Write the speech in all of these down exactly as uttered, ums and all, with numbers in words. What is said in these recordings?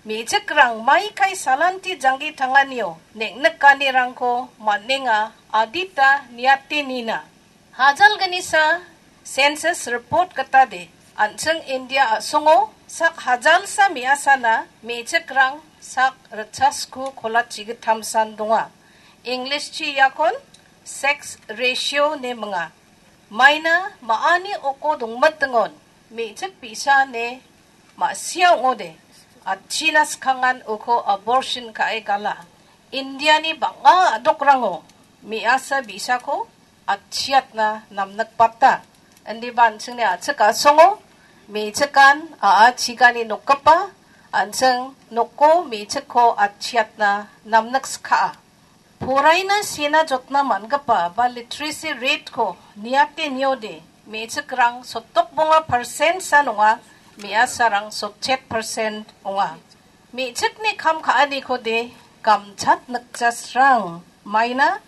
Me·chikrang maikai salanti janggi tanganio neng·nikanirangko man·enga adita niate nina. Hajalgnisa census report gitade, an·ching India a·songo sak hajalsa me·asana me·chikrang sak ritchasku kolatchi gittamsan donga. Englishchi iakon sex ratio ine minga. Maina ma·ani oko dongmitingon me·chik bi·sa ine ma·sia ong·ode, atchina skangan uko abortion ka·e gala. Indiani bang·a a·dokrango me·asa bi·sako atchiatna namnikbata. Indiba an·chingni a·chik a·songo me·chikan a·a chigani nokgipa, an·ching noko me·chikko atchiatna namnikska·a. Poraina sena jotna man·gipa ba literacy rate-ko niate niode, me·chikrang sotdok bonga percent san ong·a, me·asarang sotchet percent ong·a. Me·chikni kam ka·anikode gamchat nikjasrang maina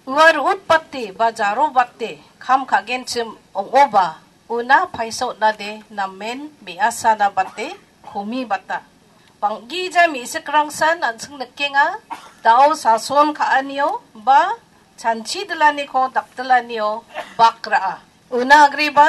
ua ru·utbate ba jarobate kam ka·genchim ong·oba, una paisa on·ade namen me·asana bate komibata. Bang·gija me·chikrangsan an·ching nikenga, dao sason ka·anio ba chanchi dilaniko dakdilanio bak ra·a. Una agreba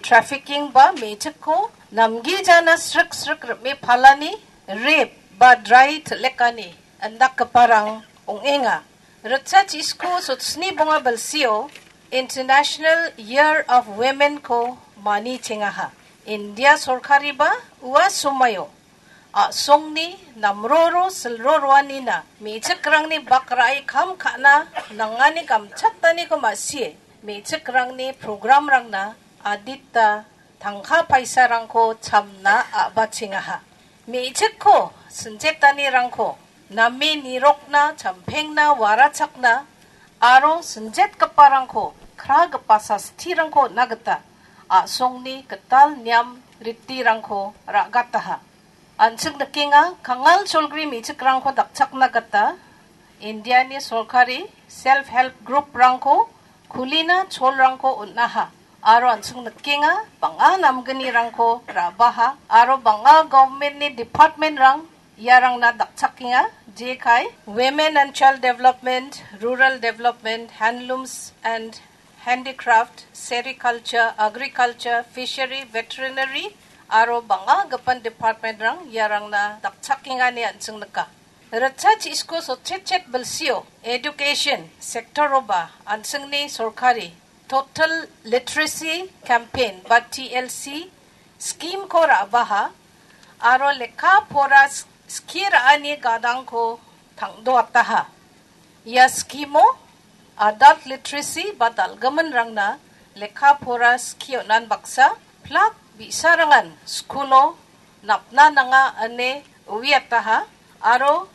trafficking ba me·chikko namgijana srik srik rim·e palani, rape ba drai til·lekani indakgiparang ong·enga. Ritchasku sotsni bonga bilsio International Year of Women-ko manichengaha. India sorkariba ua somaio a·songni namroro silro roanina me·chikrangni bak ra·e kam ka·na nangani gamchataniko ma·sie me·chikrangni programrangna adita tangka paisarangko chamna a·bachengaha. Me·chikko sinjetanirangko name nirokna, champengna, warachakna aro sinjetgiparangko kragipa sastirangko on·na gita a·songni gital niam ritirangko ra·gataha. An·ching nikenga, kangal cholgri me·chikrangko dakchakna gita Indiani sorkari self help group-rangko kulina cholrangko on·aha. Aro an·ching nikenga, bang·a namgnirangko ra·baha aro bang·a government-ni department-rang iarangna dakchakenga, jekai Women and Child Development, Rural Development, Handlooms and Handicraft, Sericulture, Agriculture, Fishery, Veterinary aro bang·a gipin department-rang iarangna dakchakenga ine an·ching nika. Ritchasku sotchetchet bilsio education sector-oba an·chingni sorkari Total Literacy Campaign ba T L C scheme-ko ra·baha aro lekka pora s-, skie ra·ani gadangko tangdoataha. Ia scheme-o adult literacy ba dal·giminrangna lekka pora skie on·an baksa plak bi·sarangan skulo napna nanga ine uiataha aro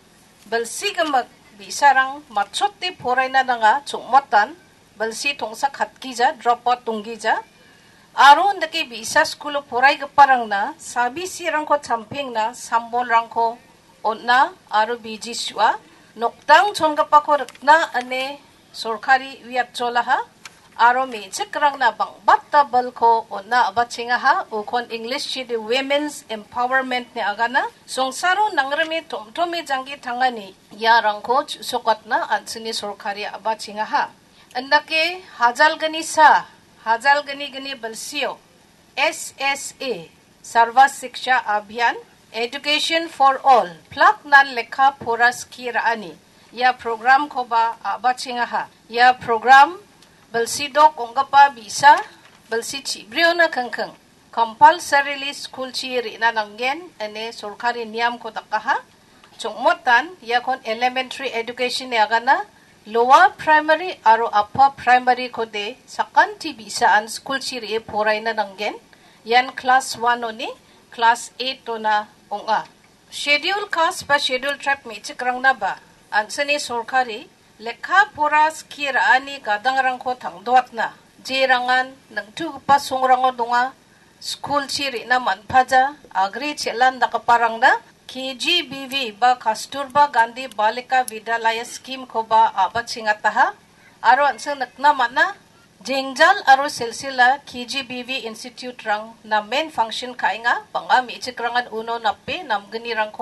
bilsi gimik bi·sarang matchote poraina nanga chongmatan bilsi tongsa katgija, drop out donggija. Aro indake bi·sa skulo poraigiparangna sabisirangko champengna sambolrangko on·a aro biji su·a. Nokdang chongipako rikna ine sorkari uiatcholaha aro me·chikrangna bang·bata bilko on·a a·bachengaha. Ukon English-chide Women's Empowerment ine agana. Songsaro nangrime tom·tome janggi tangani iarangko chu·sokatna an·chingni sorkari a·bachengaha. Indake hajalgnisa, hajalgnigni bilsio S S A, Sarva Shiksha Abhiyan, Education for All, plak nan lekka pora skie ra·ani ia program-koba a·bachengaha. Ia program bilsi dok ong·gipa bi·sa, bilsi chibriona kingking compulsorily school-chi re·na nanggen ine sorkari niamko dakaha. Chongmotan iakon elementary education-ni agana, lower primary aro upper primary-kode sakanti bi·saan school-chi re·e poraina nanggen. Ian class one-oni class eight-ona ong·a. Schedule caste ba schedule tribe me·chikrangnaba an·chingni sorkari lekka pora skie ra·ani gadangrangko tangdoatna, jerangan ningtugipa songrango donga, school-chi re·na man·paja, agri chelan dakgiparangna K G B V ba Kasturba Gandhi Balika Vidyalaya scheme-koba a·bachengataha. Aro an·ching nikna man·a, Jengjal aro Silsila K G B V institute-rang namen function ka·enga, bang·a me·chikrangan uno nape namgnirangko